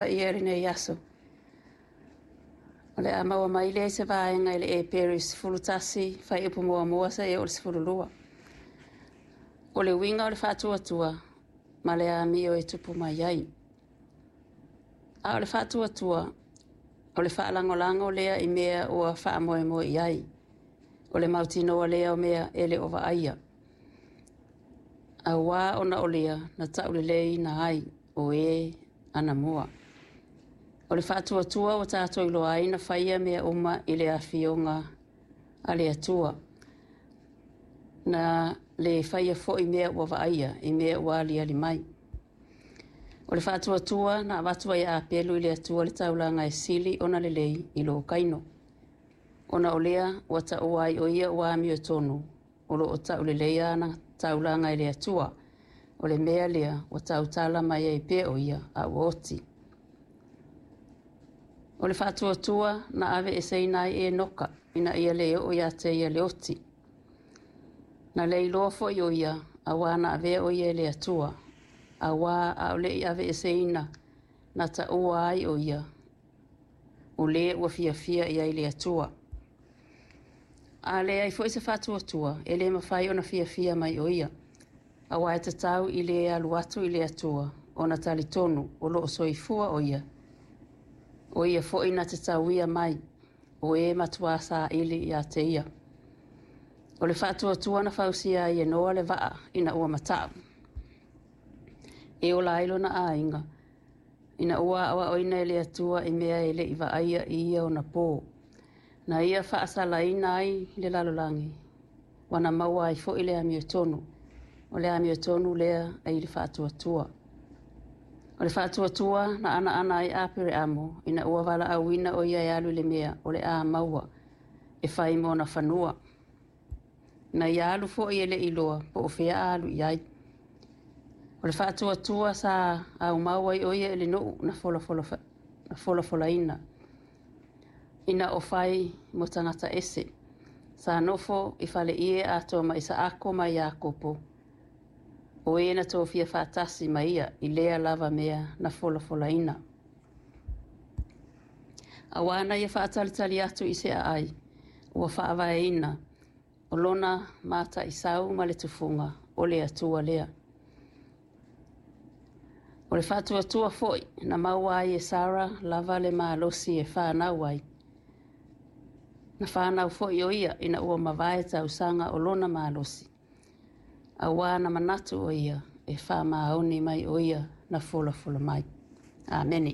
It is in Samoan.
Paia i lenei aso. O le a maua mai lea i se vaega i le Eperi 11, fuaiupu 1 seia oo i le 12. O le uiga o le faatuatua ma le amio e tupu mai ai. A o le faatuatua, o le faalagolago lea i mea ua faamoemoe i ai, o le mautinoa lea o mea e le o vaaia. Auā ona o lea na tauleleiina ai o e anamua. O le faatuatua ua tatou iloa ai na faia mea uma i le afioga a le Atua, na le faia foi mea ua vaaia i mea ua aliali mai. O le faatuatua na avatu ai e Apelu i le Atua le taulaga e sili ona lelei i lo Kaino. Ona o lea ua taua ai o ia ua amiotonu, o lo o tauleleia ana taulaga e le Atua. O le mea lea ua tautala mai ai pea o ia a ua oti. O le faatuatua na aveeseina ai Enoka ina ia le oo ia te ia le oti. Na le iloa foi o ia, auā na avea o ia e le Atua, auā a o le i aveeseina na taua ai o ia, o le ua fiafia i ai le Atua. A leai foi se faatuatua, e le mafai ona fiafia mai o ia, auā e tatau i le alu atu i le Atua ona talitonu o lo o soifua o ia, o ia foi na te tauia mai o e matua saili ia te ia. O le faatuatua na fausia ai e Noa le vaa ina ua mata'u, e ola ai lona aiga, ina ua aoaoina e le Atua i mea e le i vaaia i ia ona pō. Na ia faasalaina ai le lalolagi, ua na maua ai foi le amiotonu. O le amiotonu lea e i le faatuatua. O le faatuatua na anaana ai Apereamo ina ua valaauina o ia e alu i le mea o le a maua e fai ma ona fanua. Na ia alu foi e le i iloa po o fea a alu i ai. O le faatuatua sa aumau ai o ia i le nuu na folafolaina, ina o fai mo tagata ese. Sa nofo i faleie atoa ma Isaako ma Iakopo, o e na tofia faatasi ma ia i lea lava mea na folafolaina. Auā na ia faatalitali atu i se aai ua faavaeina, o lona mataisau ma le tufuga, o le Atua lea. O le faatuatua foi na maua ai e Sara lava le malosi e fanau ai. Na fanau foi o ia ina ua mavae tausaga o lona malosi, auā na manatu o ia e faamaoni mai o ia na folafola mai. Amene.